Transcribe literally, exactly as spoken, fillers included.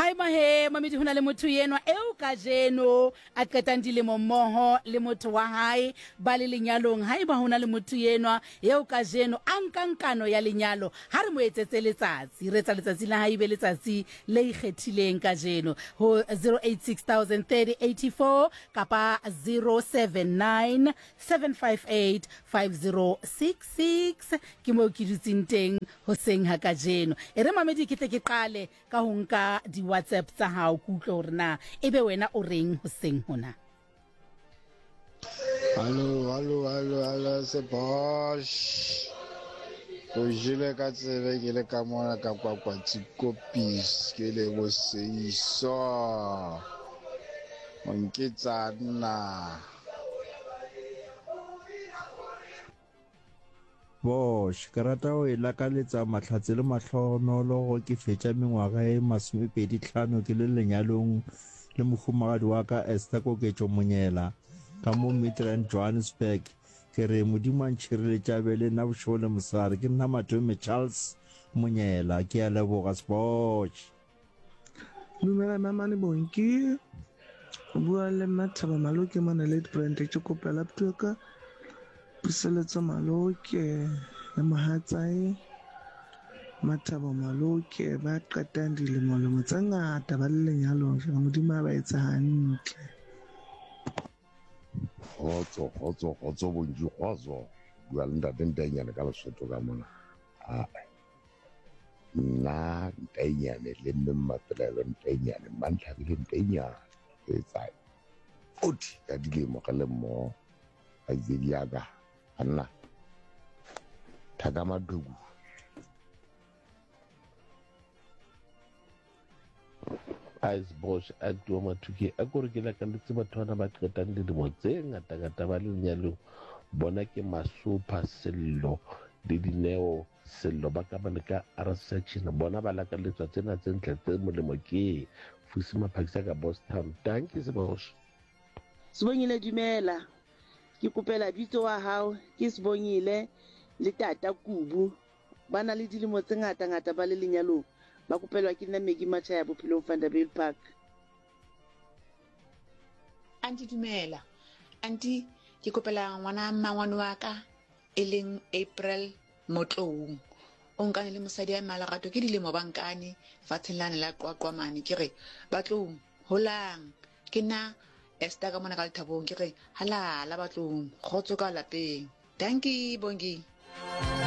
Haeba he mamedi ho na le motho enwa eo kajeno a qetang dilemo mmoho le motho wa hae ba le lenyalong, haeba ho na le motho enwa eo kajeno a nkang kano ya lenyalo, ha re mo etsetse letsatsi, re etsa letsatsi la hae be letsatsi le ikgethileng kajeno ho zero eight six thousand thirty eighty four kapa zero seven nine seven five eight five zero six six. Ke moo ke dutseng teng hoseng ha kajeno. E re mamedi ke tle ke qale ka ho nka di-WhatsApp tsa hao, ke utlwe hore na ebe wena o reng hoseng hona. Hallo, hallo, hallo, hallo, Sebosh. O jele ka tsebe ke le ka mona ka kwa Tsikopis, ke le boseiso. O nketsa nna. Bosh, ke rata ho e lakaletsa mahlatse le mahlohonolo go ke fetša mengwaga e masomepedi tlhano ke le lenyalong le mohumagadi wa ka Esther Koketšo Monyela ka mo Midrand Johannesburg. Ke re Modimo a ntšhireletše a be le nna bošego le mosegare. Ke nna Matome Charles Monyela. Ke a leboga Sbosh. Dumela Mamane Bonki, o bua le Mathabo Maloke mona Ladybrand. Ke kopela puo ka Puseletso Maloke le mohatsae Mathabo Maloke ba qetang dilemo-lemo tse ngata ba le lenyalong. Jwale Modimo a ba etse hantle. Kgotso, kgotso, kgotso Bonki, kgotso. Bua le ntate Ntainyane ka Lesotho ka mona. Ah, nna Ntainyane le mme Mmapelaelo Ntainyane, Mmantlhabile Ntainyane, re etsa forty ka dilemo re le mmoho. Kgaitsedi ya ka, banna, thaka maqheku. Ice Bosch a tua Mathuke a kore ke lakaletse batho bana ba qetang dilemo tse ngata-ngata ba le lenyalong. Bona ke Masopha Sello le Dineo Sello ba ka bane ka R section. Bona ba lakaletswa tsena tse ntle tse molemo ke Fusi Maphakisa ka Boston. Thank you Sebosh. Sibongile dumela. Ke kopela bitso wa hao ke Sibongile le tata Kubu. Ba na le dilemo tse ngata-ngata ba le lenyalong. Ba kopelwa ke nna Maggie Machaya bophelong Vanderbijl Park. Auntie dumela. Auntie ke kopela ngwana mmangwane wa ka e leng April Motloung. O nkane le mosadi ya Malerato ke dilemo ba nkane fatsheng lane la Qwaqwa mane. Ke re Batloung holang, ke nna Esther ka mona ka Lethabong. Ke re halala Batloung, kgotso ka lapeng. Dankie Bongi.